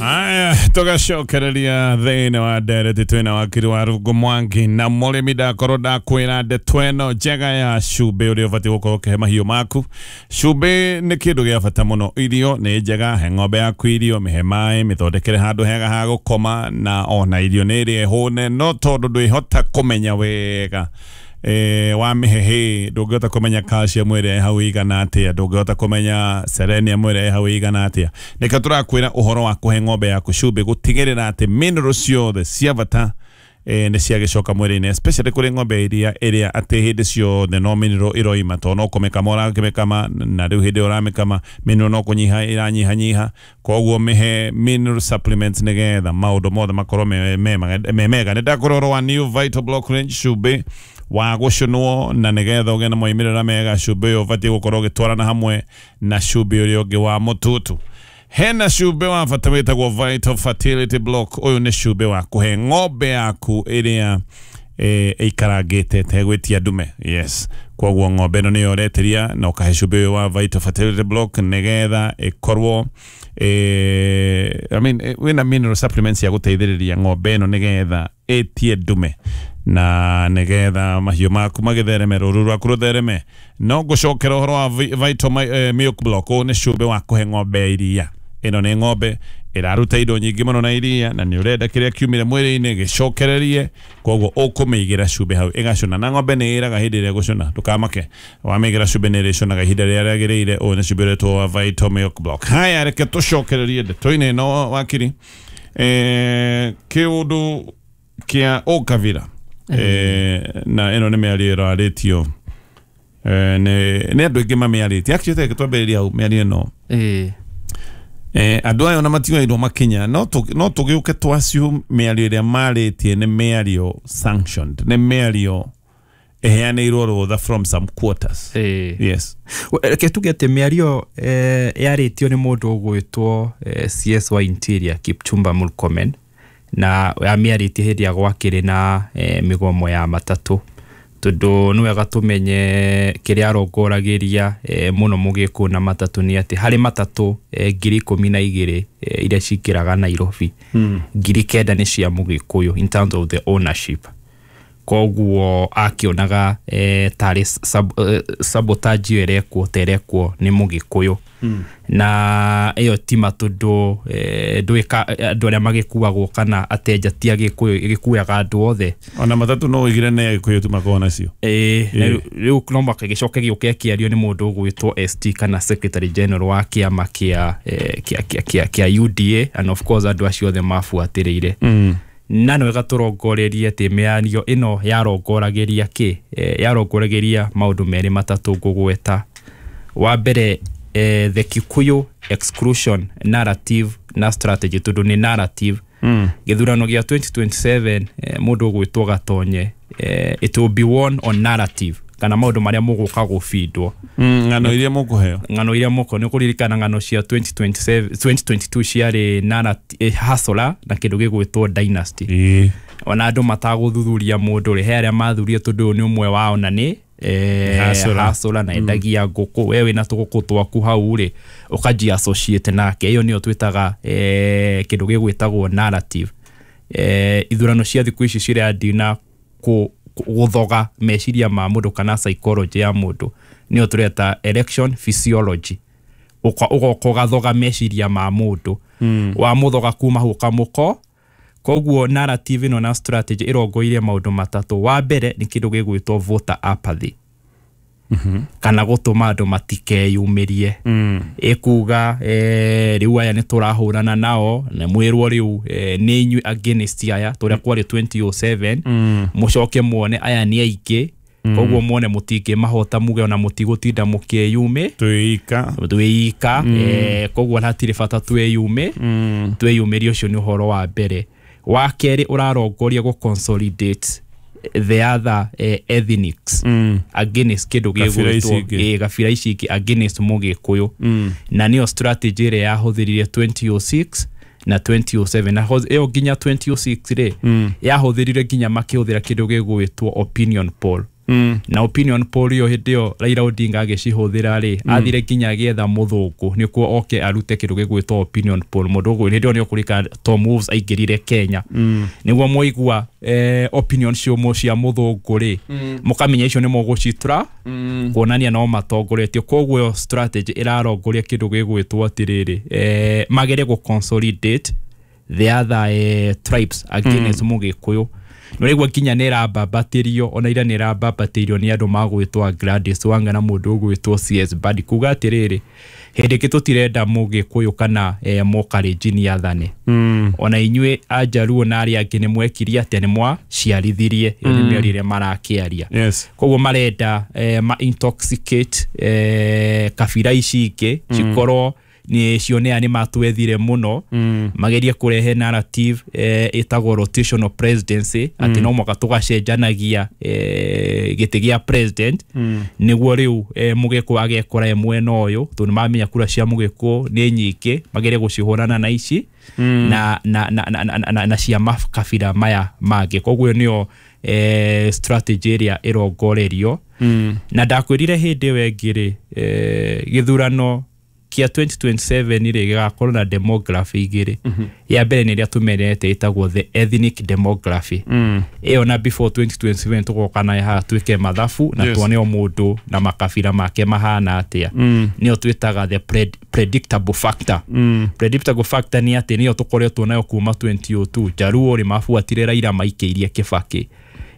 Aya, tugacokereria thĩinĩ wa ndereti twĩna wakiri wa Rungu Mwangi na mũrĩmi ndakorwo ndakwĩra ndeto ĩno njega ya cumbĩ ũrĩa ũbatiĩ gũkorwo ũkĩhe mahiũ maku. Cumbĩ nĩ kĩndũ gĩa bata mũno. Irio nĩ njega, he ng'ombe yaku irio, mĩhe maĩ, mĩthondekere handũ hega ha gũkoma, na ona irio nĩ ĩrĩa ĩhũne, no tondũ ndwĩhota kũmenya wega wa mĩhehe, ndũngĩhota kũmenya calcium ĩrĩa ĩ hau ĩigana atĩa, ndũngĩhota kũmenya selenium ĩrĩa ĩ hau ĩigana atĩa. Nĩkĩo tũrakwĩra ũhoro wa kũhe ng'ombe yaku cumbĩ, gũtigĩrĩra atĩ mineral ciothe cia bata nĩ ciagĩcoka mwĩrĩ-inĩ, especially kũrĩ ng'ombe iria ĩrĩa atĩ hĩndĩ ciothe no mineral ĩroima, tondũ no kũmĩkama ũrakĩmĩkama, na rĩu hĩndĩ ĩyo ũramĩkama mineral no kũnyiha ĩranyihanyiha. Koguo mĩhe mineral supplements nĩgetha maũndũ mothe makorwo me mega. Nĩ ndakwĩra ũhoro wa New Vital Block Range, cumbĩ wa gũcũnwo, na nĩgetha ũgĩe na moimĩrĩra mega, cumbĩ ũyũ ũbatiĩ gũkorwo ũgĩtwarana hamwe na cumbĩ ũrĩa ũngĩ wa mũtutu. Hena cumbĩ wa bata wĩtagwo Vital Fertility Block. Ũyũ nĩ cumbĩ wa kũhe ng'ombe yaku ĩrĩa ĩikarangĩte ĩtegwĩtia ndume. Yes, koguo ng'ombe ĩno nĩyo ũretĩria na ũkahe cumbĩ ũyũ wa Vital Fertility Block nĩgetha ĩkorwo I mean, wĩna mineral supplements ya gũteithĩrĩria ng'ombe ĩno nĩgetha ĩtie ndume na nĩgetha mahiũ maku magĩthereme, rũru rwaku rũthereme. No ngũcokera ũhoro wa Vital Milk Block. Ũyũ nĩ cumbĩ wa kũhe ng'ombe ya iria. Ĩno nĩ ng'ombe ĩraruta indo nyingĩ mũno na iria, na nĩ ũrenda kĩrĩa kiumire mwĩrĩ-inĩ gĩcokererie, koguo ũkũmĩigĩra cumbĩ hau ĩgacũna. Na ng'ombe nĩ ĩraga hĩndĩ ĩrĩa ĩgũcũna, ndũkamake, wamĩigĩra cumbĩ nĩ ĩrĩcũnaga ihinda rĩrĩa rĩagĩrĩire. Ũyũ nĩ cumbĩ ũretwo wa Vital Milk Block. Haya, reke tũcokererie ndeto-inĩ ĩno, wakiri. Kĩũndũ kĩa ũkabira, na ĩno nĩ mĩario ĩrarĩtio nĩ andũ aingĩ mamĩarĩtie. Actually, reke twambĩrĩrie hau mĩario ĩno. Andũ aya ona matioirwo makinya, no tũgĩũke twacio mĩario ĩrĩa marĩtie nĩ mĩario sanctioned, nĩ mĩario ĩheanĩirwo rũtha from some quarters. Yes. Reke tuge atĩ mĩario yarĩtio nĩ mũndũ ũgwĩtwo CS wa Interior Kipchumba Murkomen, na amĩarĩtie hĩndĩ ya gwakĩrĩ na mĩgomo ya matatũ, tondũ nĩ wega tũmenye kĩrĩa arongoragĩria mũno mũgĩkũyũ na matatũ nĩ atĩ harĩ matatũ 12,000 iria cingĩraga Nairobi, 9,000 nĩ cia mũgĩkũyũ in terms of the ownership. Koguo akĩonaga tarĩ sabotage ĩyo ĩrekwo ta ĩrekwo nĩ mũgĩkũyũ. Na ĩyo ti ma, tondũ andũ arĩa magĩkuagwo kana atenja ti agĩkũyũ, ĩgĩkuaga andũ othe. Ona matatũ no ũigire nĩ agĩkũyũ tu makoragwo nacio. Rĩu no mũhaka gĩcoke gĩũke kĩario nĩ mũndũ ũgwĩtwo ST kana Secretary General wa kĩama kĩa UDA, and of course andũ acio othe mabuatĩrĩire. Na nĩ wega tũrongorerie atĩ mĩario ĩno yarongoragĩria kĩ? Yarongoragĩria maũndũ merĩ matatũ ngũgweta. Wa mbere, the Kikuyu exclusion narrative na strategy, tondũ nĩ narrative. Gĩthurano gĩa 2027, mũndũ ũgwĩtwo Gatonye, it will be won on narrative, kana maũndũ marĩa mũgũka gũbindwo. Ng'ano iria mũkũheo. Ng'ano iria mũkũheo. Nĩ ũkũririkana ng'ano cia 2027, 2022 ciarĩ hustler na kĩndũ gĩgwĩtwo dynasty. Ona andũ matagũthuthuria mũndũ rĩ, he arĩa mathurie tondũ ũyũ nĩ ũmwe wao na nĩ hustler na endagia ngũkũ, we wĩna tũgũkũ twaku hau rĩ, ũkanjia associate nake. Ĩyo nĩyo twĩtaga kĩndũ gĩgwĩtagwo narrative. Ithurano cia thikũ ici cirathiĩ na gũthoga meciria ma mũndũ kana psychology ya mũndũ, nĩyo tũreta election physiology. Ũgoka ũgathoga meciria ma mũndũ, wamũthoga kuma hau ũkamũko. Koguo narrative ĩno na strategy ĩrongoirie maũndũ matatũ. Wa mbere nĩ kĩndũ gĩgwĩtwo voter apathy, kana gũtũma andũ matikeyumĩrie. Ĩkuga rĩu aya nĩ tũrahũrana nao, na mwĩrwo rĩu nĩ inyuĩ against aya, tũrĩa kwarĩ 2007, mũcoke muone aya nĩ aingĩ, koguo muone mũtingĩmahota, muge ona mũtigũtinda mũkĩyumĩ twĩika, koguo hatirĩ bata twĩyumĩrie. Ũcio nĩ ũhoro wa mbere. Wa kerĩ ũrarongoria gũ consolidate the other ethnics against kĩndũ gĩgwĩtwo gabira ici ingĩ against mũgĩkũyũ. Na nĩyo strategy ĩrĩa yahũthĩrire 2006 na 2007, na ĩyo nginya 2006 rĩ, yahũthĩrire nginya makĩhũthĩra kĩndũ gĩgwĩtwo opinion poll. Na opinion poll ĩyo hĩndĩ ĩyo Raila Odinga agĩcihũthĩra rĩ, athire nginya agĩetha mũthũngũ nĩkuo oke arute kĩndũ gĩgwĩtwo opinion poll. Mũndũ ũguo hĩndĩ ĩyo nĩ ũkũrika Tom Wolves aingĩrire Kenya, nĩguo mwaigua opinion cia mũthũngũ rĩ, mũkamenya icio nĩ mũgũcitra kuonania no matongoretio. Koguo ĩyo strategy ĩrarongoria kĩndũ gĩgwĩtwo atĩrĩrĩ, magerie gũ consolidate the other tribes against Mũgĩkũyũ. Nĩũraigua nginya nĩ ĩrambambatĩrio, ona ira nĩ ĩrambambatĩirio nĩ andũ magwĩtwo Gladys Wanga na mũndũ ũgwĩtwo CS Badi, kuga atĩrĩrĩ, hĩndĩ ĩngĩ tũtirenda Mũgĩkũyũ kana Mũkalenjin athane. Ona inyuĩ Ajaluo na arĩa angĩ nĩ mwekirie atĩa, nĩ mwaciarithirie. Ĩyo nĩ mĩario ĩrĩa marakĩaria. Koguo marenda ma intoxicate kabira ici ingĩ cikorwo nĩ cionea nĩ matwethire mũno, magerie kũrehe narrative ĩtagwo rotational presidency, atĩ no mwaka tũgacenjanagia gĩtĩ gĩa president, nĩguo rĩu Mũgĩkũyũ agekora e mwena ũyũ, tondũ nĩmamenya kura cia Mũgĩkũyũ nĩ nyingĩ, magerie gũcihũrana na ici na cia makabira maya mangĩ. Koguo nĩyo strategy ĩrĩa ĩrongorerio. Na ndakwĩrire hĩndĩ ĩyo ĩngĩ rĩ, gĩthurano kĩa 2027 rĩ gĩgakorwo na demography igĩrĩ. Ya mbere nĩ ĩrĩa tũmenyerete ĩtagwo the ethnic demography. Ĩyo na before 2027 tũgoka nayo haha twĩke mathabu na tuone o mũndũ na makabira make mahana atĩa. Nĩyo twĩtaga the predictable factor. Predictable factor nĩ atĩ nĩyo tũkoretwo nayo kuma 2002. Jaluo rĩ mabuatire Raila maikĩirie Kibaki,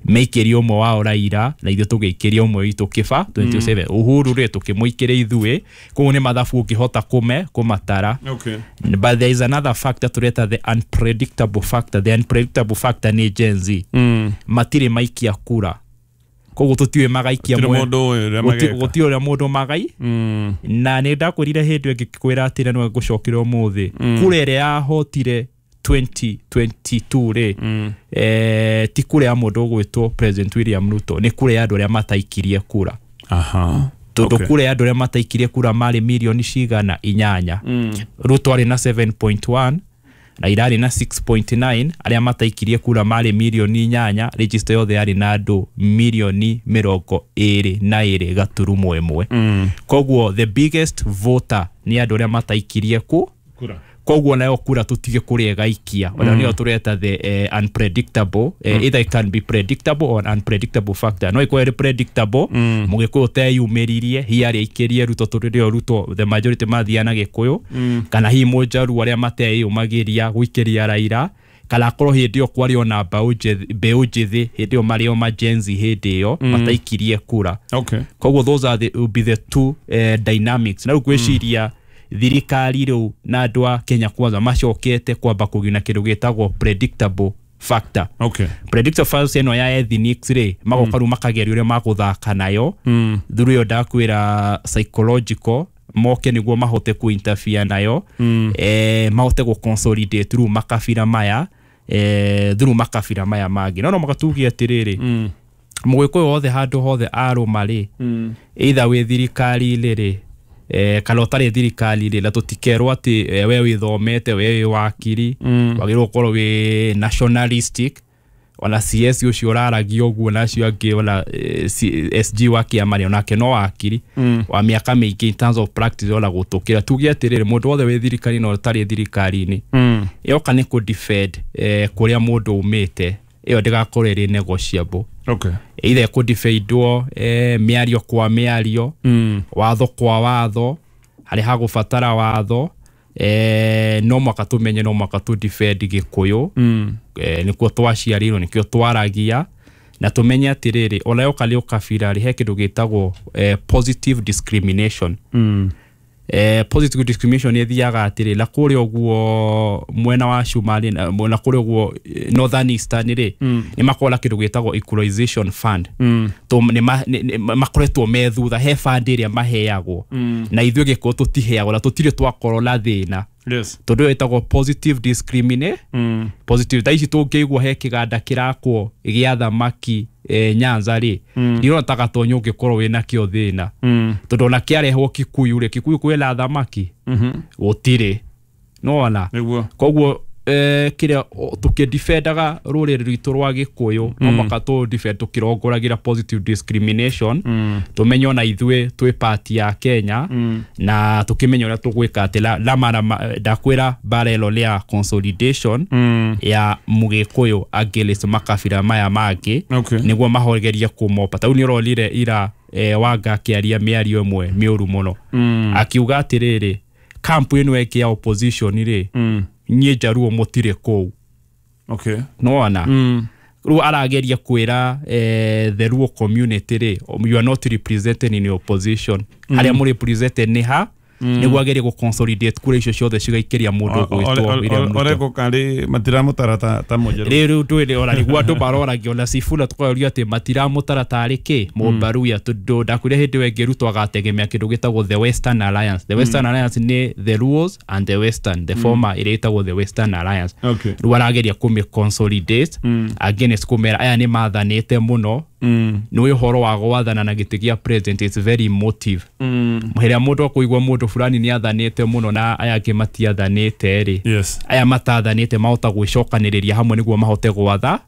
maikĩrie ũmwe wao Raila na ithuĩ tũgĩikĩria ũmwe witũ Kĩba 2007. Uhuru rĩ tũkĩmũikĩria ithuĩ. Koguo nĩ mathabu ũngĩhota kũmatara. But there is another factor tũreta the unpredictable factor. The unpredictable factor nĩ Gen Z. Matirĩ maikia kura, koguo tũtiũĩ magaikia gũtirĩ ũrĩa mũndũ magai. Na nĩ ndakwĩrire hĩndĩ ĩngĩ kwĩra atĩrĩ, no ngũcokera ũmũthĩ, kura ĩrĩa yahotire 2022 rĩ, ti kura ya mũndũ ũgwĩtwo President William Ruto, nĩ kura ya andũ arĩa mataikirie kura. Tondũ kura ya andũ arĩa mataikirie kura marĩ mirioni cigana 8. Ruto arĩ na 7.1, Raila arĩ na 6.9, arĩa mataikirie kura marĩ mirioni 8, register yothe yarĩ na andũ mirioni 22.1. Koguo the biggest voter nĩ andũ arĩa mataikirie kura. Koguo nayo kura tũtige kũrĩa ĩgaikia. Ona nĩyo tũreta the unpredictable. Either it can be predictable or unpredictable factor. No ĩkorwo ĩrĩ predictable, Mũgĩkũyũ teyumĩririe, hihi arĩa aikĩrie Ruto tondũ rĩo Ruto the majority mathiaga na Gĩkũyũ, kana hihi Mũjaluo arĩa mateyumagĩria gũikĩria Raila, kana akorwo hĩndĩ ĩyo kwarĩ ona mbeũ njĩthĩ, hĩndĩ ĩyo marĩ o ma Gen Z hĩndĩ ĩyo mataikirie kura. Koguo those are the, will be the two dynamics. Na rĩu ngwĩciria thirikari rĩu na andũ a Kenya Kwanza macokete kwamba kũgĩa kĩndũ gĩtagwo predictable factor. Predictable factor ĩno ya ethnics rĩ, magoka rĩu makageria ũrĩa magũthaka nayo. Through ĩyo ndakwĩra psychological, moke nĩguo mahote ku interfere nayo, mahote gũ consolidate rĩu makabira maya, through makabira maya mangĩ. No makatugia atĩrĩrĩ, Mũgĩkũyũ wothe handũ hothe arũma rĩ, either wĩ thirikari-inĩ rĩ, kana ũtarĩ thirikari-inĩ, na tũtikerwo atĩ we wĩthomete, we wĩ wakiri, wagĩrĩirwo gũkorwo wĩ nationalistic. Ona CS ũcio ũraragia ũguo na acio angĩ, ona SG wa kĩama rĩ, onake no wakiri wa mĩaka mĩingĩ in terms of practice ona gũtũkĩra. Tuge atĩrĩrĩ, mũndũ wothe wĩ thirikari-inĩ na ũtarĩ thirikari-inĩ, yoka nĩ kũ defend kũrĩa mũndũ umĩte, ĩyo ndĩgakorwo ĩrĩ negotiable. Either kũ defendwo mĩario kwa mĩario, watho kwa watho, harĩa hagũbatara watho, no mwaka tũmenye, no mwaka tũ defend Gĩkũyũ. Nĩkuo twaciarirwo, nĩkĩo twaragia, na tũmenye atĩrĩrĩ, ona yoka nĩ ũkabira rĩ, he kĩndũ gĩtagwo positive discrimination. Positive discrimination ĩthiaga atĩrĩ, na kũrĩa ũguo mwena wa Cumarĩ, na kũrĩa ũguo Northern Eastern rĩ, nĩ makoragwo na kĩndũ gĩtagwo equalization fund. Makoretwo me thutha, he fund ĩrĩa maheagwo, na ithuĩ Gĩkũyũ tũtiheagwo, na tũtirĩ twakorwo na thĩna. Tondũ ĩyo ĩtagwo positive discrimination. Positive thaa ici tũngĩigua he kĩganda kĩrakwo gĩa thamaki Nyanza rĩ, ndirona ta Gatonyo ũngĩkorwo wĩna kĩo thĩna. Tondũ ona kĩarehwo Kikuyu rĩ, Kikuyu kwĩna thamaki gũtirĩ. Nĩwona? Koguo Kiria tukidefendaga ruriri rwitu rwa Gikuyu no maka tu defend tukirongoragira positive discrimination, tumenye ona ithuĩ twĩ part ya Kenya na tukimenya uria tugwika ati la mara ndakwira bara ĩno rĩa consolidation ya Mugikuyu against makabira maya mangĩ, nĩguo mahoregerie kũmopa. Tau nĩ ũronire ira Wanga akĩaria mĩario ĩmwe mĩũru mũno, akiuga atĩrĩrĩ, kampu ĩno ĩngĩ ya opposition rĩ, niĩ Njaruo mũtirĩ kũu. Nĩwona rĩu arageria kwĩra the Luo community rĩ, you are not represented in your opposition, harĩa mũrĩ represented nĩ ha, nĩguo agerie gũ consolidate kura icio ciothe cigaikĩria mũndũ ũgwĩtwo William Ruto. Oreko kari matiramũtara ta mũnjaruo. Rĩu ndũĩ ona nĩguo andũ maroragia ona Sifuna tũkoria atĩ matiramũtara tarĩ kĩ Mũmbaruya, tondũ ndakwĩra hĩndĩ ĩyo ĩngĩ Ruto agategemea kĩndũ gĩtagwo the Western Alliance. The Western Alliance nĩ the Luos and the Western, the former ĩrĩa ĩtagwo the Western Alliance. Rĩu arageria kũmĩ consolidate against kũmera aya nĩ mathanĩte mũno. Nĩ ũhoro wa gwathana na gĩtĩ gĩa president is very emotive. Hĩrĩa mũndũ akũigua mũndũ fulani nĩ athanĩte mũno na aya angĩ matiathanĩte rĩ, aya matathanĩte mahota gwĩcokanĩrĩria hamwe nĩguo mahote gwatha.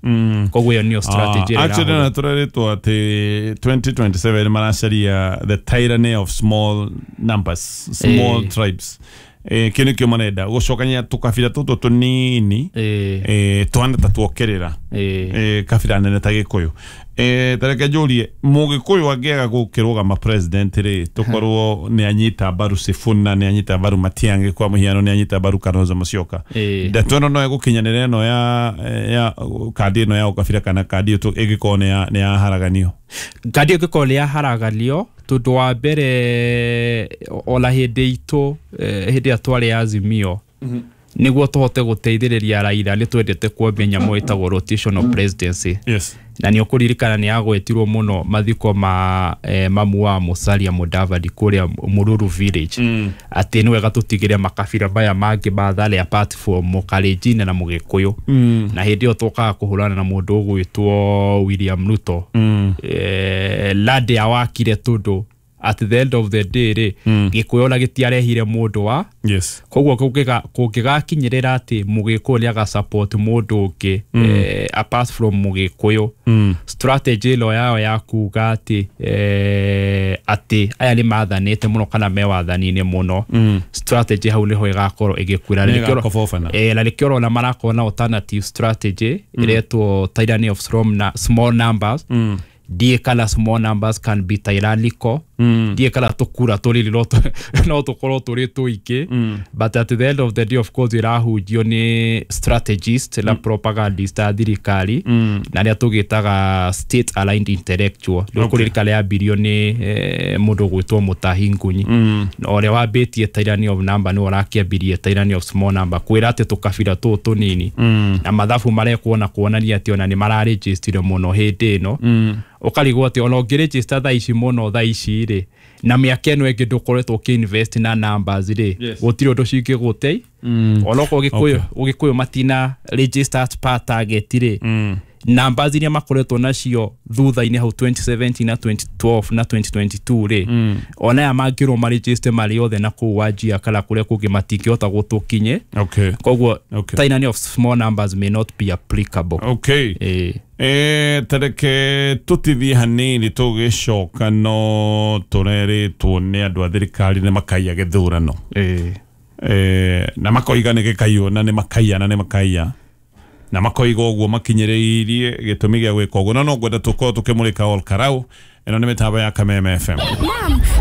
Koguo ĩyo nĩyo strategy ĩrĩa Actually na tũreretwo atĩ 2027 maracaria the tyranny of small numbers, small tribes. Kĩu nĩkĩo marenda gũcokania tũkabira tũtũ tũnini, twana ta tuokerera kabira nene ta Gĩkũyũ. Tareke njũrie, Mũgĩkũyũ angĩaga gũkĩrũgama president rĩ, tũkorwo nĩ anyita mbaru Sifuna, nĩ anyita mbaru Matiang'i, kwa mũhiano nĩ anyita mbaru Kalonzo Musyoka, ndeto ĩno no ĩgũkinyanĩra ĩno ya kandi ĩno ya ũkabira, kana kandi ĩyo ĩngĩkorwo nĩ yaharaganio? Kandi ĩngĩkorwo nĩ yaharaganio, tondũ wa mbere ona hĩndĩ itũ, hĩndĩ ĩrĩa twarĩ Azimio, nĩguo tũhote gũteithĩrĩria Raila nĩ twendete kuambia nyamũ ĩtagwo rotational presidency. Na nĩ ũkũririkana nĩ yagwetirwo mũno mathiko ma mamu wa Musalia Mudavadi kũrĩa Mururu village, atĩ nĩ wega tũtigĩre makabira maya mangĩ mathare apart from Mũkalenjin na Mũgĩkũyũ. Na hĩndĩ ĩyo tũkaga kũhũrana na mũndũ ũgwĩtwo William Ruto. Lande awakire tondũ at the end of the day rĩ, Gĩkũyũ ona gĩtiarehire mũndũ wa koguo kũngĩgakinyĩrĩra atĩ Mũgĩkũyũ nĩ agasupport mũndũ ũngĩ apart from Mũgĩkũyũ, strategy ĩno yao ya kuga atĩ atĩ aya nĩ mathanĩte mũno kana me wathani-inĩ mũno, strategy hau nĩho ĩgakorwo ĩgĩkuĩra. Na nĩkĩo ũrona marakorwo na alternative strategy ĩretwo tyranny of small numbers. Ndiĩ kana small numbers can be tyrannical, ndiĩ kana tũkura tũrĩrĩ no tũkorwo tũrĩ tũingĩ, but at the end of the day of course ĩrahunjio nĩ strategist na propagandist a thirikari, na arĩa tũgĩtaga state aligned intellectual. Rĩu kũririkana yambirio nĩ mũndũ ũgwĩtwo Mutahi Ngunyi, na ũrĩa wambĩtie tyranny of number nĩwe ũrakĩambirie tyranny of small number, kwĩra atĩ tũkabira tũũ tũnini na mathabu marekwo na kuonania atĩ ona nĩ mararĩnjĩstire mũno hĩndĩ ĩno. Ũkarigwo atĩ ona ũngĩrĩnjĩsta thaa ici mũno thaa ici rĩ, na mĩaka ĩno ĩngĩ ndũkoretwo ũkĩinvest na numbers rĩ, gũtirĩ ũndũ cingĩgũtei. Ona okorwo Ũgĩkũyũ matina register as per target rĩ, numbers iria makoretwo nacio thutha-inĩ hau 2017 na 2012 na 2022 rĩ, ona aya mangĩrwo marĩnjĩste marĩ othe na kũu Wajir kana kũrĩa kũngĩ matingĩhota gũtũkinye. Koguo tyranny of small numbers may not be applicable. Tareke tũtithie hanini tũgĩcoka, no tũrerĩtwo nĩ andũ a thirikari nĩ makaiya gĩthurano, na makoiga nĩ gĩkaiywo na nĩ makaiya na nĩ makaiya na makoiga ũguo makinyĩrĩirie gĩtũmi gĩa gwĩka ũguo. No ngwenda tũkorwo tũkĩmũrĩka Ol Karau. Ĩno nĩ mĩtambo ya Kameme FM.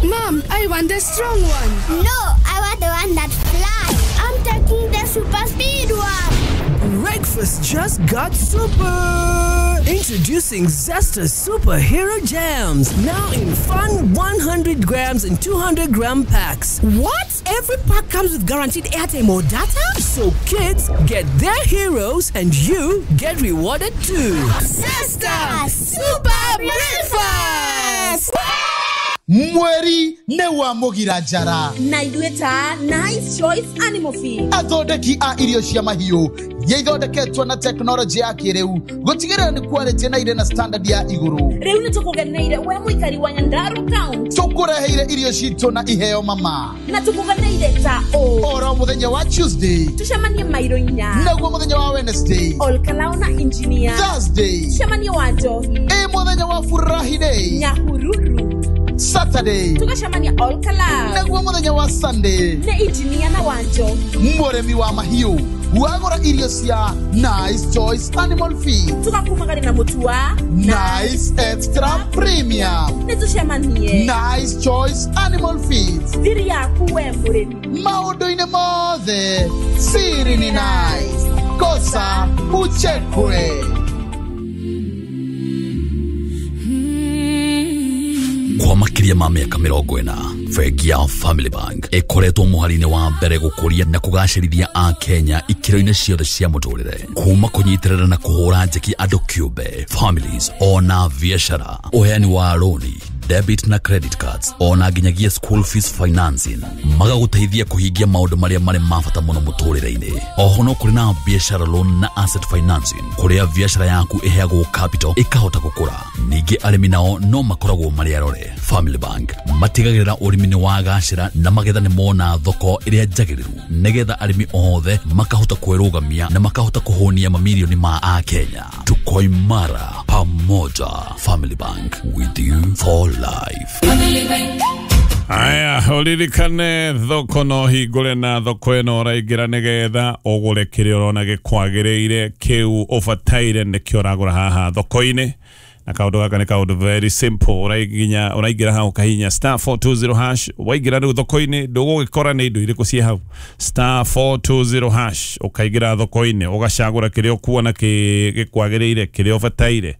Mom, I want the strong one. No, I want the one that flies. I'm taking the super speed one. Breakfast just got super. Introducing Zesta Superhero Jams, now in fun 100 grams and 200 gram packs. What? Every pack comes with guaranteed airtime or data? So kids get their heroes and you get rewarded too. Zesta Super Breakfast! Mweri nĩ wa mũgira njara. Na ithuĩ ta Nice Choice Animal Feed, athondeki a irio cia mahiũ iria ithondeketwo na tekinoronjĩ ya kĩrĩu gũtigĩrĩra nĩ quality na irĩ na standard ya igũrũ. Rĩu nĩ tũkũgeneire we mũikari wa Nyandarua County. Tũkũreheire irio citũ na iheo mama. Na tũkũgeneire ta ũ oro mũthenya wa Tuesday tũcemanie mairo 4, naguo mũthenya wa Wednesday Olkalao na Engineer, Thursday tũcemanie wa Njohi, ĩ mũthenya wa Furahi Day Nyahururu, Saturday tũgacemania Olkalao, naguo mũthenya wa Sunday nĩ Engineer na wa Njohi. Mũrĩmi wa mahiũ wagũra irio cia Nice Choice Animal Feed, tũgakumagari na mũtu wa Nice Extra Premium. Nĩ tũcemanie Nice Choice Animal Feed, thiri yaku we mũrĩmi. Maũndũ-inĩ mothe siri ni nice, kosa uchekwe. Kwa makĩria ma mĩaka 40, bengi ya Family Bank ĩkoretwo mũhari-inĩ wa mbere gũkũria na kũgacĩrithia a Kenya ikĩro-inĩ ciothe cia mũtũrĩre, kuma kũnyitĩrĩra na kũhũra njeki andũ kĩũmbe, families ona biacara, ũheani wa rũni, debit na credit cards, ona nginyagia school fees financing, magagũteithia kũhingia maũndũ marĩa marĩ ma bata mũno mũtũrĩre-inĩ. Oho no kũrĩ na biacara loan na asset financing, kũrĩa biacara yaku ĩheagwo capital ĩkahota gũkũra. Ningĩ arĩmi nao no makoragwo marĩ arore. Family Bank matigagĩrĩra ũrĩmi nĩ wagacĩra na magetha nĩ mona thoko ĩrĩa njagĩrĩru, nĩgetha arĩmi othe makahota kwĩrũgamia na makahota kũhũnia mamirioni ma Akenya. Tuko imara pamoja. Family Bank, with you for life. Aya, ũririkane thoko no hingũre na thoko ĩno ũraingĩra nĩgetha ũgũre kĩrĩa ũrona gĩkwagĩrĩire, kĩu ũbataire nĩkĩo ũragũra haha thoko-inĩ. Na kaũndũ gaka nĩ kaũndũ very simple, ũraingĩra hau ũkahihinya star 420 hash, waingĩra rĩu thoko-inĩ ndũgũgĩkora nĩ indo irĩkũ ciĩ hau. Star 420 hash, ũkaingĩra thoko-inĩ ũgacagũra kĩrĩa ũkuona gĩkwagĩrĩire, kĩrĩa ũbataire,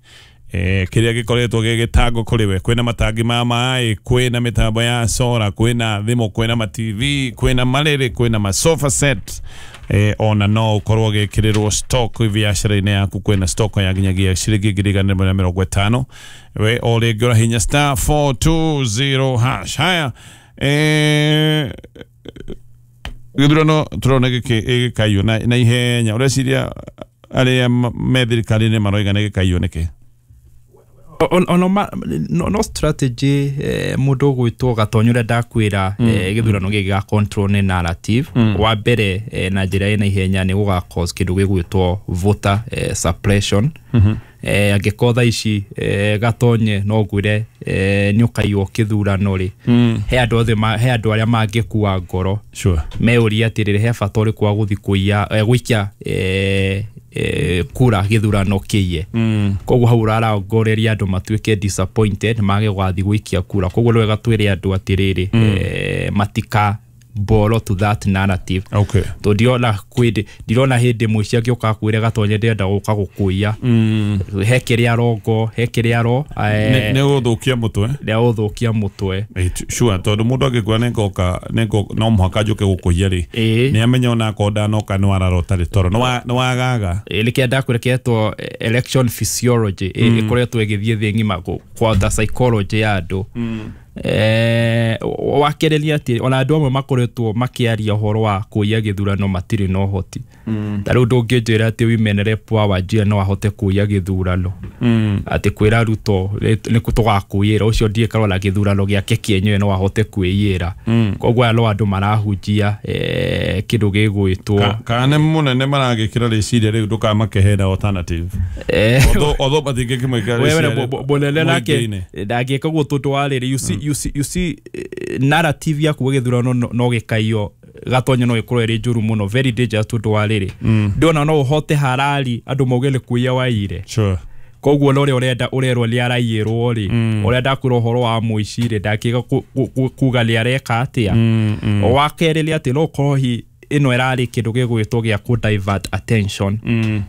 kĩrĩa gĩkoretwo gĩgĩtangwo kũrĩ we. Kwĩna matangi ma maĩ, kwĩna mĩtambo ya sora, kwĩna thimũ, kwĩna ma TV, kwĩna marĩrĩ, kwĩna ma sofa set, ona no ũkorwo ũgĩkĩrĩrwo stock biacara-inĩ yaku. Kwĩna stock ya nginyagia ciringi 1,150. We o rĩngĩ ũrahinya star 420 hash. Haya, gĩthurano tũrona gĩkaiywo na ihenya. Ũreciria arĩa me thirikari-inĩ maroiga nĩ gĩkaiywo nĩkĩ? No strategy mũndũ ũgwĩtwo Gatonyo ũrĩa ndakwĩra, gĩthurano gĩkĩ gĩa control nĩ narrative. Wa mbere, na njĩra ĩna ihenya nĩ gũga cause kĩndũ gĩgwĩtwo voter suppression. Angĩkorwo thaa ici Gatonye no ngwĩre nĩ ũkaiywo kĩthurano rĩ, he andũ othe he andũ arĩa mangĩkua ngoro meũria atĩrĩrĩ, he bata ũrĩkũ wa gũthiĩ kũiya gũikia kura gĩthurano kĩiye. Koguo hau ũrarongoreria andũ matuĩke disappointed mage gũgathiĩ gũikia kura. Koguo nĩ wega twĩre andũ atĩrĩrĩ, matika boro to that narrative. Tondũ ndirona hĩndĩ mũici angĩũka akwĩre Gatonye ndĩrenda gũka gũkũiya, he kĩrĩa arongo, he kĩrĩa aro nĩ gũthũkia mũtwe, nĩ gũthũkia mũtwe. Sure, tondũ mũndũ angĩkũra nĩngoka no mũhaka njũke gũkũiya rĩ, nĩ amenya ona akorwo ndanoka nĩ wararota rĩ, toro nĩ wagaga. Nĩkĩo ndakwĩra kĩretwo election physiology, ĩkoretwo ĩgĩthiĩ thĩ ng'ima kwata psychology ya andũ. Wakereria atĩ ona andũ amwe makoretwo makĩaria ũhoro wa kũiya gĩthurano matirĩ na ũhoti. Ta rĩu ndũngĩnjĩra atĩ women rep wa Wajir no ahote kũiya gĩthurano, atĩ kwĩra Ruto nĩ tũgakũiyĩra, ũcio ndiĩ karora gĩthurano gĩake kĩenyewe no ahote kwĩiyĩra. Koguo aya no andũ marahunjia kĩndũ gĩgwĩtwo kana nĩ mũnene maragĩkĩra rĩciria rĩu ndũkamakehera alternative. Although matingĩkĩmwĩkĩra rĩciria mũnene nake ndangĩka ũguo tondũ wa rĩrĩ, you see narrative ya kuga gĩthurano no gĩkaiyo Gatonye no ĩkorwo ĩrĩ njũru mũno, very dangerous tondũ wa rĩrĩ, ndĩona no ũhote harari andũ mauge nĩ kũiya waiyire. Koguo na ũrĩa ũrenda ũrerwo nĩ araiyĩrwo rĩ, ũrĩa ndakwĩra ũhoro wa mũici rĩ, ndangĩga kuga nĩ areka atĩa. Wa kerĩ nĩ atĩ no ũkorwo hi ĩno ĩrarĩ kĩndũ gĩgwĩtwo gĩa kũ divert attention,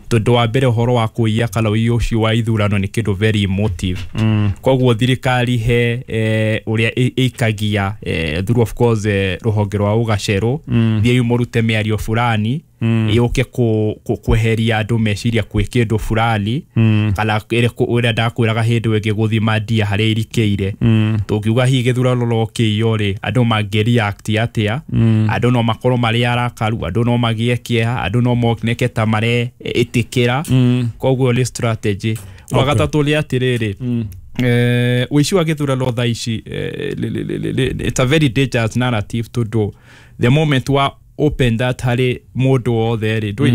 tondũ wa mbere ũhoro wa kũiya kana ũiyi ũcio wa ithurano nĩ kĩndũ very emotive. Koguo thirikari he ũrĩa ĩikagia through of course rũhonge rwa ũgacerũ, thiĩi mũrute mĩario fulani. Yũke kweheria andũ meciria kwĩ kĩndũ fulani kana ũrĩa ndakwĩraga hĩndĩ ĩngĩ gũthima ndia harĩa irikĩire. Tũngiuga hihi gĩthurano no kĩiywo rĩ, andũ mangĩ react atĩa? Andũ no makorwo marĩ arakaru, andũ no magĩe kĩeha, andũ no moneke ta mareĩtĩkĩra. Koguo nĩ strategy. Wa gatatũ nĩ atĩrĩrĩ, ũici wa gĩthurano thaa ici, it's a very dangerous narrative tondũ the moment wa open that harĩ mũndũ wothe rĩ,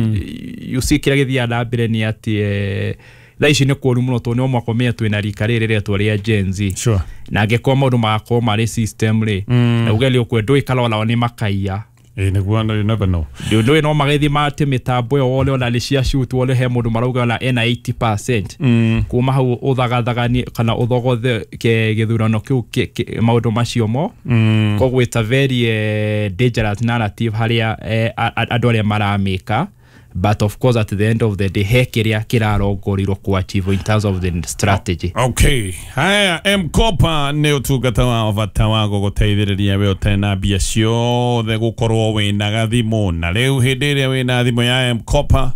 you see kĩrĩa gĩthiaga na mbere nĩ atĩ thaa ici nĩ kũũru mũno tondũ no mwaka ũmenye twĩna rika rĩrĩ rĩretwo rĩa Gen Z. Sure. Na angĩkorwo maũndũ magakorwo marĩ system rĩ, na uge nĩ ũkwe ndũĩ onao nĩ makaiya. Nĩguo, you never know. Ndũĩ no magĩthiĩ mate mĩtambo ĩyo wone ona nĩ cia shoot, wone he mũndũ marauga ona ena 80%. Kuma hau ũthagathaganie kana ũthogothe gĩthurano kĩu maũndũ macio mo. Koguo it's a very dangerous narrative harĩa andũ arĩa maramĩka. But of course at the end of the day he kĩrĩa kĩrarongorirwo ku achieve in terms of the strategy. Okay. Haya, M-Kopa nĩ ũtungata wa bata wa gũgũteithĩrĩria we ũtarĩ na mbia ciothe gũkorwo wĩna gathimũ, na rĩu hĩndĩ ĩrĩa wĩna thimũ ya M-Kopa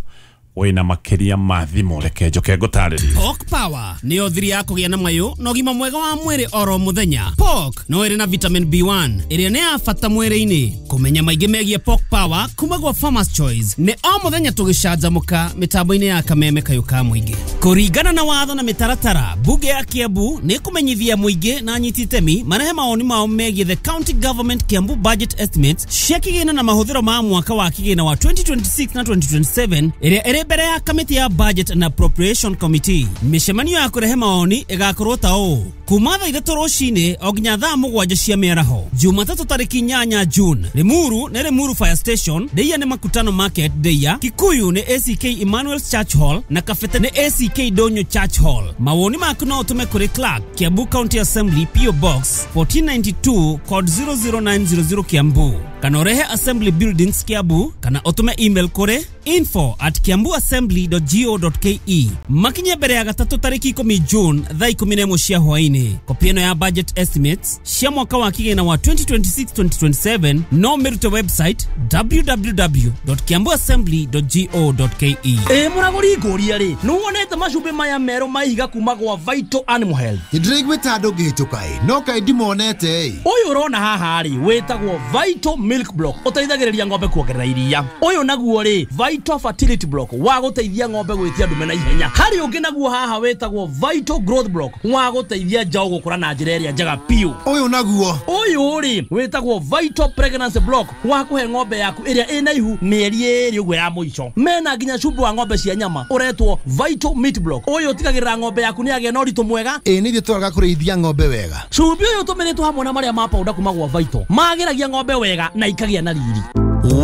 wĩna makĩria ma thimũ. Reke njoke ngũtarĩrie. Pork Power nĩyo thiri ya kũgĩa na mayũ na ũgima mwega wa mwĩrĩ oro mũthenya. Pork no ĩrĩ na vitamin B1 ĩrĩa nĩ ya bata mwĩrĩ-inĩ. Kũmenya maingĩ megiĩ Pork Power kuma gwa Farmers Choice nĩ o mũthenya tũgĩcanjamũka mĩtambo-inĩ ya Kameme Kayũ ka Mũingĩ. Kũringana na watho na mĩtaratara, bunge ya Kiambu nĩ kũmenyithia mũingĩ na anyiti itemi marehe mawoni mao megiĩ the county government Kiambu budget estimates cia kĩgĩna na mahũthĩro ma mwaka wa kĩgĩna wa 2026 na 2027 ĩrĩa ĩrĩ mbere ya kamĩtĩ ya Budget and Appropriation Committee. Mĩcemanio ya kũrehe maoni ĩgakorwo ta ũũ: kuma thaa 3 rũcinĩ o nginya thaa 7 cia mĩaraho, Jumatatũ tarĩki 8 June. Limuru nĩ Limuru Fire Station, Ndeia nĩ Makutano Market Ndeia, Kikuyu nĩ ACK Emmanuel's Church Hall na Kabete nĩ ACK Donyo Church Hall. Mawoni maku no ũtũme kũrĩ Clerk, Kiambu County Assembly, PO Box 1492 code 00900 Kiambu, kana ũrehe Assembly Buildings Kiambu, kana ũtũme email kũrĩ info@kiambuassembly.go.ke. Makinye mbere ya gatatũ tarĩki 10 June thaa 11 cia hwaĩ-inĩ. Kopi ĩno ya budget estimates cia mwaka wa kĩgĩna wa 2026-2027 no mĩrute website www.kiambuassembly.go.ke. Ĩ mũragũri ngũria rĩ, nĩwonete macumbĩ maya merũ ma ihiga kuma gwa Vital Animal Health? Nĩndĩraiguĩte andũ ngĩhĩtũka ĩ, no kaĩ ndimonete ĩ. Ũyũ ũrona haha rĩ wĩtagwo Vital Milk Block, ũteithagĩrĩria ng'ombe kuongerera iria. Ũyũ naguo rĩ Vital Fertility Block wa gũteithia ng'ombe gwĩtia ndume na ihenya. Harĩ ũngĩ naguo haha wĩtagwo Vital Growth Block wa gũteithia njaũ gũkũra na njĩra ĩrĩa njega biũ. Ũyũ naguo? Ũyũ rĩ wĩtagwo Vital Pregnancy Block wa kũhe ng'ombe yaku ĩrĩa ĩna ihu mĩeri 2 ũguo ya mũico. Mena nginya cumbĩ wa ng'ombe cia nyama ũretwo Vital Meat Block. Ũyũ ũtigagĩrĩra ng'ombe yaku nĩ yagĩa na ũritũ mwega. Ĩ nĩ ithuĩ twaga kũrĩithia ng'ombe wega. Cumbĩ ũyũ ũtũmĩrĩtwo hamwe na marĩa ma powder kuma gwa Vital magĩragia ng'ombe wega na ikagĩa na riri.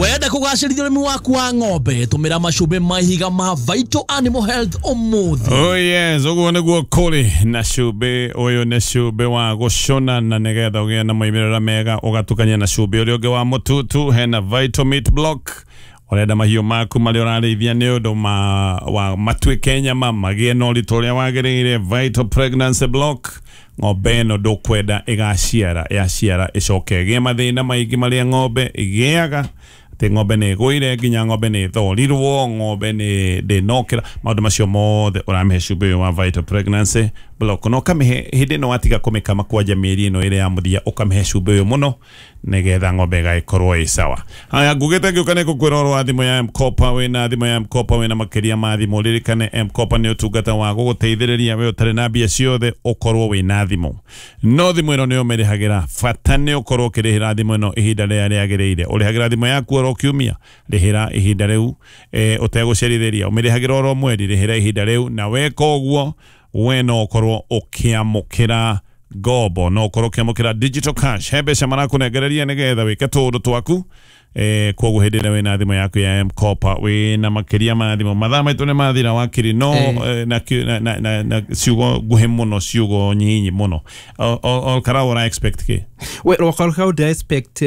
Wenda kũgacĩrithia ũrĩmi waku wa ng'ombe, tũmĩra macumbĩ ma ihiga ma Vital Animal Health ũmũthĩ. Oh yes, ũguo nĩguo kũrĩ na cumbĩ ũyũ nĩ cumbĩ wa gũcũna, na nĩgetha ũgĩe na moimĩrĩra mega ũgatukania na cumbĩ ũrĩa ũngĩ wa mũtutu. Hena Vital Meat Block, ũrenda mahiũ maku marĩa ũrarĩithia nĩ ũndũ wa matuĩke nyama magĩe na ũritũ ũrĩa wagĩrĩire. Vital Pregnancy Block, ng'ombe ĩno ndũkwenda ĩgaciara, yaciara ĩcoke ĩgĩe mathĩna maingĩ marĩa ng'ombe ĩgĩaga, atĩ ng'ombe nĩ ĩgũire, nginya ng'ombe nĩ ĩthorirwo, ng'ombe nĩ ndĩnokĩra, maũndũ macio mothe ũramĩhe cumbĩ ũyũ wa Vital Pregnancy Block. Na ũkamĩhe hĩndĩ ĩno watiga kũmĩkama kwanja mĩeri ĩno ĩrĩ ya mũthia, ũkamĩhe cumbĩ ũyũ mũno nĩgetha ng'ombe ĩgagĩkorwo ĩ sawa. Haya, ngugĩte ngĩũka nĩ ngũkwĩra ũhoro wa thimũ ya M-Kopa. Wĩna thimũ ya M-Kopa wĩna makĩria ma thimũ. Ririkane M-Kopa nĩ ũtungata wa gũgũteithĩrĩria we ũtarĩ na mbia ciothe ũkorwo wĩna thimũ, no thimũ ĩno nĩyo ũmĩrĩhagĩra. Bata nĩ ũkorwo ũkĩrĩhĩra thimũ ĩno ihinda rĩrĩa rĩagĩrĩire. Ũrĩhagĩra thimũ yaku oro kiumia, rĩhĩra ihinda rĩu ũtegũcerithĩria. Ũmĩrĩhagĩra oro mweri, rĩhĩra ihinda rĩu, na weka ũguo we no ũkorwo ũkĩamũkĩra ngombo, no ũkorwo ũkĩamũkĩra digital cash. He mbeca marakũnengereria nĩgetha wĩke tũũndũ twaku. Koguo hĩndĩ ĩrĩa wĩna thimũ yaku ya M-Kopa wĩna makĩria ma thimũ. Mathaa maitũ nĩ mathira wakiri, no na ciugo nguhĩ mũno, ciugo nyinyi mũno. Olkarau ũra expect kĩ? Well, Olkarau ndĩra expect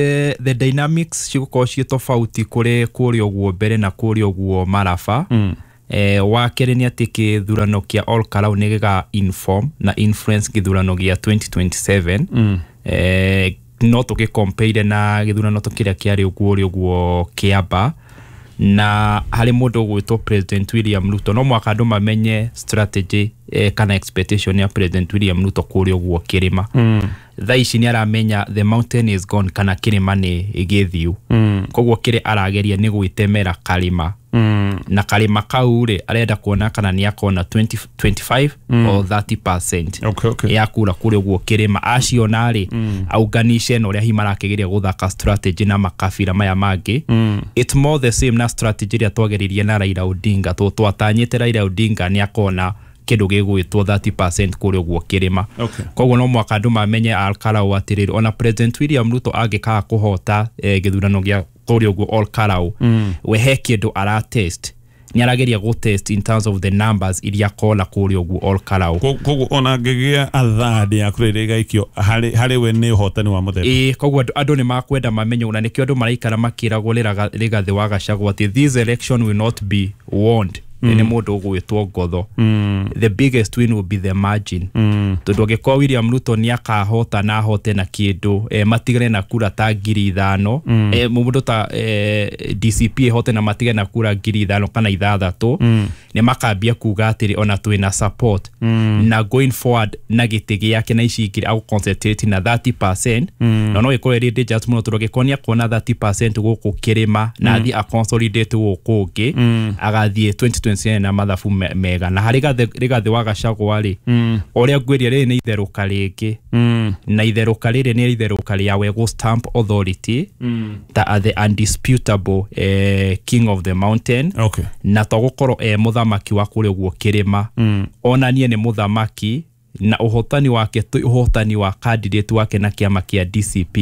the dynamics cigũkorwo ciĩ tofauti kũrĩ kũrĩa ũguo mbere na kũrĩa ũguo Maraba. Wa kerĩ nĩ atĩ kĩthurano kĩa Olkarau nĩ gĩga inform na influence gĩthurano gĩa 2027. No tũgĩcompare na gĩthurano kĩrĩa kĩarĩ ũguo ũrĩa ũguo Kĩamba. Na harĩ mũndũ ũgwĩtwo President William Ruto, no mwaka andũ mamenye strategy kana expectation ya President William Ruto kũrĩa ũguo kĩrĩma. Thaa ici nĩ aramenya the mountain is gone, kana kĩrĩma nĩ gĩthiu. Koguo kĩrĩa arageria nĩ gwĩtemera karĩma. Na karĩma kau rĩ, arenda kuona kana nĩ akona 20, 25 or 30% ya kura kũrĩa ũguo kĩrĩma. Aciona rĩ, aunganishe na ũrĩa hihi marakĩgeria gũthaka strategy na makabira maya mangĩ. It's more the same na strategy ĩrĩa twageririe na Raila Odinga, tondũ twatanyĩte Raila Odinga nĩ akona kĩndũ gĩgwĩtwo 30% kũrĩa ũguo kĩrĩma. Koguo no mwaka andũ mamenye Olkalau atĩrĩrĩ, ona President William Ruto angĩkaga kũhota gĩthurano gĩa kũrĩa ũguo Olkalau, we he kĩndũ aratest, nĩ arageria gũtest in terms of the numbers iria akona kũrĩa ũguo Olkalau. Koguo ona angĩgĩa athadi ya kura ĩrĩa ĩgaikio harĩ we nĩ ũhotani wa mũthemba. Ĩĩ, koguo andũ nĩ makwenda mamenye, na nĩkĩo andũ maraikara makĩragwo Rigathĩ wa Gachagua atĩ this election will not be won nĩ mũndũ ũgwĩtwo Ngotho. The biggest win will be the margin, tondũ angĩkorwo William Ruto nĩ akahota na ahote na kĩndũ matigane na kura ta 5,000, mũndũ ta DCP ĩhote na matigane na kura 5,000 kana 6, nĩ makambia kuga atĩrĩ ona twĩna support. Na going forward na gĩtĩ gĩake na ici ingĩ agũ concentrate na 30%, na no ĩkorwo ĩrĩ dangerous mũno, tondũ angĩkorwo nĩ akona 30% gũkũ kĩrĩma na athiĩ a consolidate gũkũ ũngĩ, agathiĩ 2027 na mathabu mega. Na harĩ Rigathĩ wa Gachagua rĩ, ũrĩa ngwĩria rĩrĩ nĩ itherũka rĩngĩ, na itherũka rĩrĩ nĩ itherũka rĩa we gũ stamp authority ta the undisputable king of the mountain. Na to gũkorwo e mũthamaki wa kũrĩa ũguo kĩrĩma, onanie nĩ mũthamaki, na ũhotani wake ti ũhotani wa candidate wake na kĩama kĩa DCP,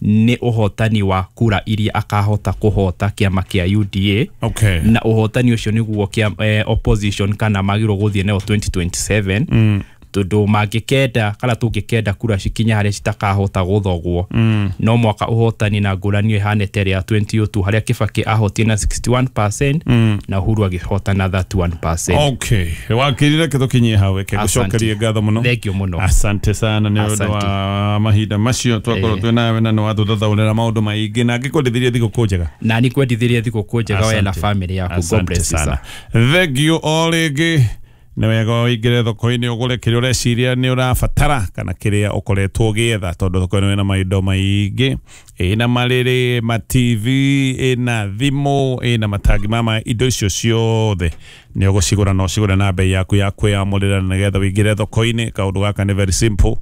nĩ ũhotani wa kura iria akahota kũhota kĩama kĩa UDA. Na ũhotani ũcio nĩguo opposition kana magĩrĩirwo gũthiĩ nayo 2027, tondũ mangĩkenda kana tũngĩkenda kura cikinya harĩa citakahota gũthogwo, no mwaka ũhotani na ngũrani ĩhane ta ĩrĩa ya 2002, harĩa Kibaki ahotire na 61% na Uhuru agĩhota na 31%. Okay, wakiri, reke tũkinyie hau, reke ngũcokerie ngatho mũno. Thank you mũno. Asante sana nĩ ũndũ Asante. wa mahinda macio twakorwo twĩ nawe, na nĩ watũthathaũrĩra maũndũ maingĩ, na ngĩkwendithirie thigũkũ njega. Na nĩ kwendithirie thigũkũ njega we na Asante. family yaku. God Asante bless you, sana. sir. Thank you o rĩngĩ. Nĩ wega ũingĩre thoko-inĩ ũgũre kĩrĩa ũreciria nĩ ũrabatara kana kĩrĩa ũkoretwo ũgĩetha, tondũ thoko-inĩ ĩna maindo maingĩ, ĩna marĩrĩ, ma TV, ĩna thimũ, ĩna matangi ma maĩ. Indo icio ciothe nĩ ũgũcigũra na ũcigũre na bei yaku ya kwĩyamũrĩra. Na nĩgetha ũingĩre thoko-inĩ, kaũndũ gaka nĩ very simple,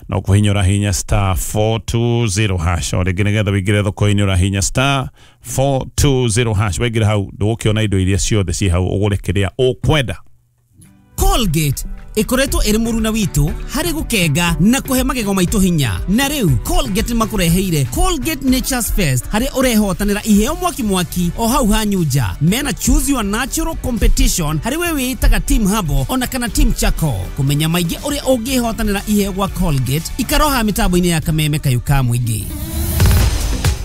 no kũhinya ũrahinya *420#. O rĩngĩ, nĩgetha ũingĩre thoko-inĩ ũrahinya *420#. Waingĩra hau, ndũgũkĩona indo iria ciothe ciĩ hau, ũgũre kĩrĩa ũkwenda. Colgate ĩkoretwo ĩrĩ mũruna witũ harĩ gũkenga na kũhe magego maitũ hinya. Na rĩu Colgate nĩmakũreheire Colgate Nature's Fest, harĩa ũrehotanĩra iheo mwaki mwaki o hau hanyu nja. Mena choose your natural competition harĩ we wĩĩtaga team Habo ona kana team Charcoal. Kũmenya maingĩ ũrĩa ũngĩhotanĩra iheo gwa Colgate, ikaroha mĩtambo-inĩ ya kameme kayũ ka mũingĩ.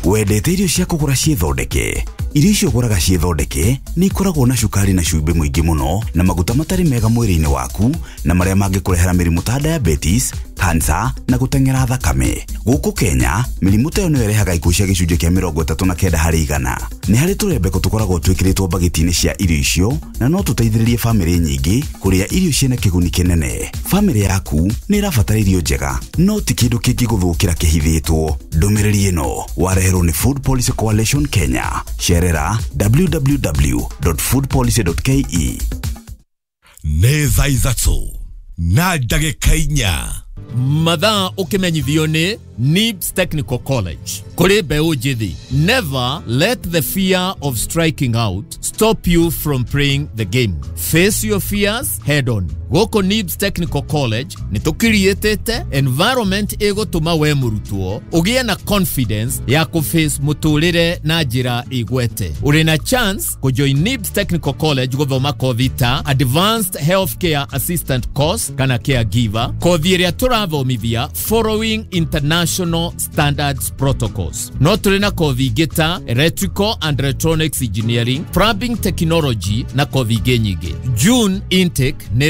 Wendete irio cia kũgũra ciĩthondeke? Irio icio ũgũraga ciĩthondeke nĩ ikoragwo na cukari na cumbĩ mũingĩ mũno na maguta matarĩ mega mwĩrĩ-inĩ waku, na marĩa mangĩkũrehera mĩrimũ ta diabetes, cancer na gũteng'era thakame. Gũkũ Kenya, mĩrimũ ta ĩyo nĩyo ĩrehaga ikuũ cia gĩcunjĩ kĩa 39%. Nĩ harĩ tũrembeko tũkoragwo twĩkĩrĩtwo mbagiti-inĩ cia irio icio, na no tũteithĩrĩrie bamĩrĩ nyingĩ kũrĩa irio ciĩna kĩguni kĩnene. Bamĩrĩ yaku nĩ ĩrabatara irio njega, no ti kĩndũ kĩngĩgũthũkĩra kĩhithĩtwo. Ndũmĩrĩri ĩno wareherwo nĩ Food Policy Coalition Kenya. Cerera www.foodpolicy.ke. Nĩ thaa 3:04. Mathaa ũkĩmenyithio nĩ NIBS Technical College. Kũrĩ mbeũ njĩthĩ, never let the fear of striking out stop you from playing the game. Face your fears head on. Gũkũ NIBS Technical College nĩ tũkiriĩtĩte environment ĩgũtũma we mũrutwo ũgĩe na confidence ya kũface mũtũrĩre na njĩra ĩgwete. Ũrĩ na chance kũjoin NIBS Technical College gũthoma kothi ta Advanced Healthcare Assistant Course kana caregiver, kothi ĩrĩa tũrathomithia following international standards protocols. No tũrĩ na kothi ingĩ ta Electrical and Electronics Engineering, Plumbing Technology na kothi ingĩ nyingĩ. June intake nĩ